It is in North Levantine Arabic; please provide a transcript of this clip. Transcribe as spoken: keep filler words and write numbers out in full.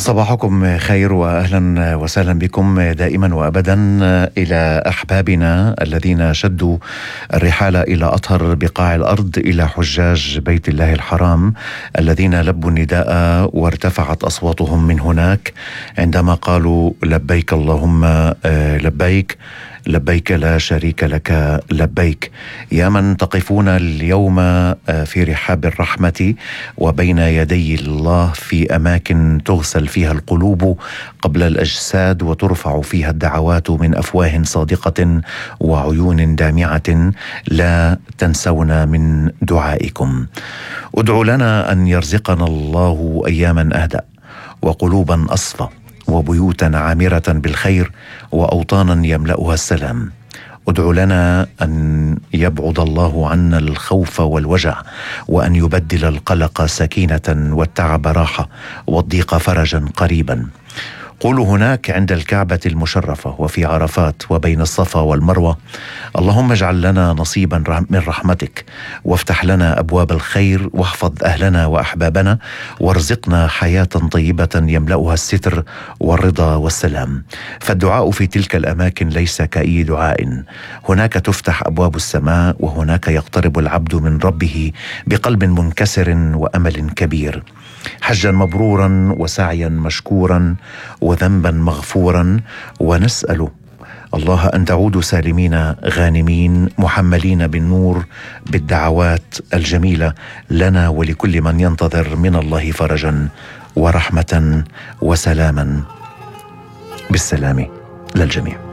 صباحكم خير وأهلا وسهلا بكم دائما وأبدا إلى أحبابنا الذين شدوا الرحال إلى أطهر بقاع الأرض، إلى حجاج بيت الله الحرام الذين لبوا النداء وارتفعت أصواتهم من هناك عندما قالوا لبيك اللهم لبيك لبيك لا شريك لك لبيك. يا من تقفون اليوم في رحاب الرحمة وبين يدي الله في أماكن تغسل فيها القلوب قبل الأجساد وترفع فيها الدعوات من أفواه صادقة وعيون دامعة، لا تنسونا من دعائكم. ادعوا لنا أن يرزقنا الله أياما أهدأ وقلوبا أصفى وبيوتا عامرة بالخير وأوطانا يملأها السلام. ادعوا لنا أن يبعد الله عنا الخوف والوجع، وأن يبدل القلق سكينة والتعب راحة والضيق فرجا قريبا. قولوا هناك عند الكعبة المشرفة وفي عرفات وبين الصفا والمروة: اللهم اجعل لنا نصيبا من رحمتك، وافتح لنا أبواب الخير، واحفظ أهلنا وأحبابنا، وارزقنا حياة طيبة يملأها الستر والرضا والسلام. فالدعاء في تلك الأماكن ليس كأي دعاء، هناك تفتح أبواب السماء، وهناك يقترب العبد من ربه بقلب منكسر وأمل كبير. حجا مبرورا وسعيا مشكورا وذنبا مغفورا، ونسأل الله أن تعودوا سالمين غانمين محملين بالنور بالدعوات الجميلة لنا ولكل من ينتظر من الله فرجا ورحمة وسلاما. بالسلام للجميع.